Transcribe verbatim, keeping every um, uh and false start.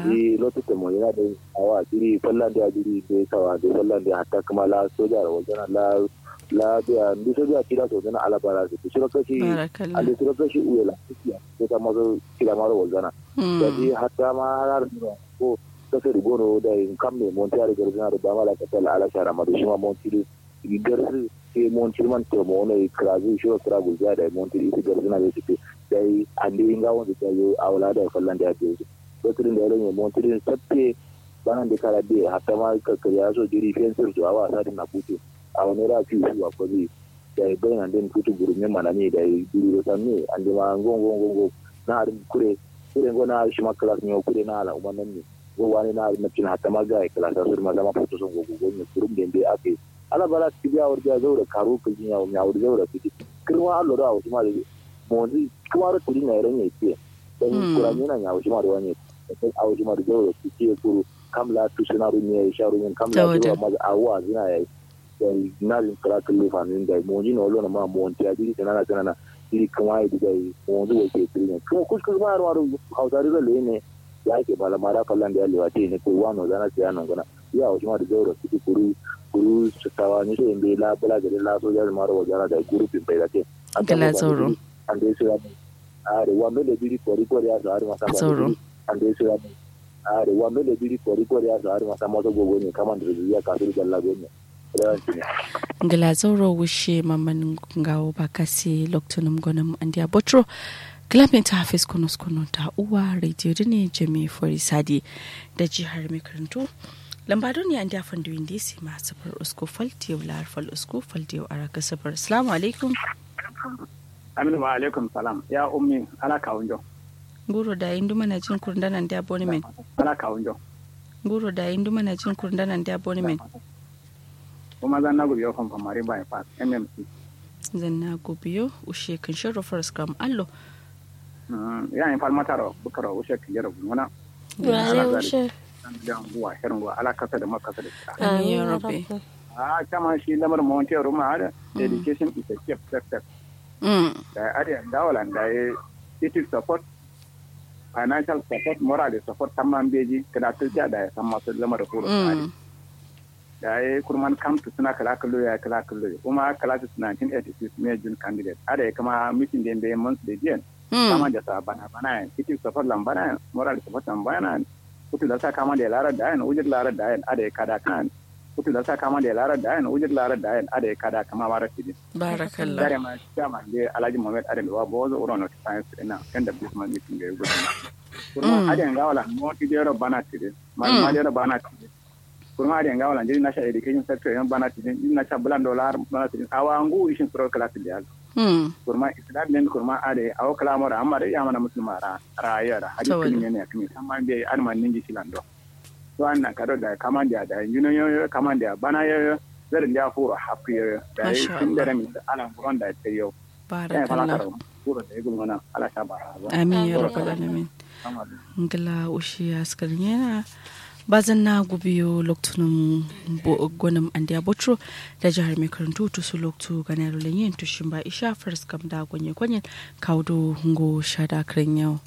Jiri lotu tamo yana dai. Awa jiri fallan da jiri dai sawa dai fallan da hatta kuma la soja da wajana la la biya ndu soja tira so zana ala bara su shiro kashi ande shiro kashi uwe la sai ta mazo kila maro wajana. Da ji hatta ma har ko kasa da gono da yin kam ne monti har garzana da ba ma la kasa la ala shara ma da shi ma monti da garsu sai monti man to mo ne krazu shiro kra gulza da monti isi garzana da shi dai ande inga wanda ta yo awla da fallan da ya je. Lotirin da ya ranye montirin sabte banan da kara de hatta ma kakkari ya so jiri fensir to awa sadin na butu. Awa ne ra fi su wa kwazi da ya bai nan den futu guru ne manami da ya duru da sanni an da ma ngo ngo ngo ngo na harin kure kure ngo na harin shi ma kala sun yi kure na ala umman nan ne. Ngo wani na harin na cin hatta ma ga ya kala sa sur ma zama foto son go go ne kurum da ya bai aka yi. Ala bara su biya wurja zaura karu kujin yawo mi awur zaura fiti. Kirma allo da awushi ma da monzi kuma ro tiri na iran ya ke. Dan kurani na ya awushi ma da wani dan awushi ma da zaura fiti ya kuru kam la tu suna rumi ya sha rumi kam la tu ma awuwa zina ya yi. Dan na jin kala kullu famin da monzi na wallo na ma monti ya jiri sanana sanana jiri kuma ya diga yi monzi wa ke tiri ne kuma kuskus ma ruwa ruwa hausari zalle ne. Ya ke bala mara fallan da ya lewa te ne ko wano zana sai ya nongana. Ya awushi ma da zaura fiti kuru kuru sawa ni so inde la bala gade la soja da maro wajana da guru pin bai da ke. Gala zauro. Ande sira. Are wambe da biri kori kori ya sa har masa zauro. Ande sira. Are wambe da biri kori kori ya sa har masa masa gogo ne kaman da ya kasu da galla gogo ne. Ngla zauro wushe mamman ngawo ba kasi loktunum gonum andiya botro. Gla min ta hafis konos kono ta uwa radio dine jami fori sadi da jihar mai karantu. Lamba duniya andiya fandu indi si ma sifir usku fal diyo lar fal usku fal diyo araka sifir. Assalamu alaikum. Aminu wa alaikum salam ya ummi ala kawunjo. Nguro da indu mana jin kurndana andiya boni men. Ala kawunjo. Nguro da indu mana jin kurndana andiya boni men. Kuma zanna gubiyo famfamari bypass mmc. Zanna gubiyo ushe kan shero faras kam allo. Yayin falmataro bukaro ushe kan jero gulmuna. Wale ushe. Zanna guwa shero guwa ala kasa da makasa da. Amin ya rabbi. A kama shi lamar mawantiyar ruma hada education is a gift sector. Da ya adiya dawalan da ya it is support financial support moral support tamman beji kada tulta da ya san masu lamar furo tsari. Da ya kurman kam to suna kala kallo ya kala kallo kuma kala to suna nineteen eighty-six me jun candidate ada ya kama mitin da ya months da jiyan kama da sa bana bana yan it is support lambana yan moral support lambana yan kutu da sa kama da ya lara da yan ujir lara da yan ada ya kada kan kutu da sa kama da ya lara da yan ujir lara da yan ada ya kada kama mara tidin. Barakallah. Dare ma dama de alhaji muhammad adam wa bozo uro no science ina kan da bisman mitin da ya gudu. Kurma aden gawala mo ti dero bana tidin. Malama dero bana tidin. Kurma aden gawala jiri nasha education sector yan bana tidin jiri nasha bulan dollar bana tidin awa ngu ishin suro class da yal. Kurma islam den kurma ade awo kala mora amma da ya mana musulma ra rayuwa da hadis kin ne ne kin amma be alman ningi silando. To annan kado da kaman da da yuno yoyo kaman da bana yoyo. Zarin da furo hafi yoyo da tun da ramin alan buron da ta yau. Barakallah. Amin ya rabbal alamin. Ngla ushi askar yana. Bazan na gubiyo loktunum gonum andiya botro da jihar mai karantu tusu loktu gana yaro lanyen tushin ba isha faras kam da gonye gonyen kaudo ngo shada kren yau.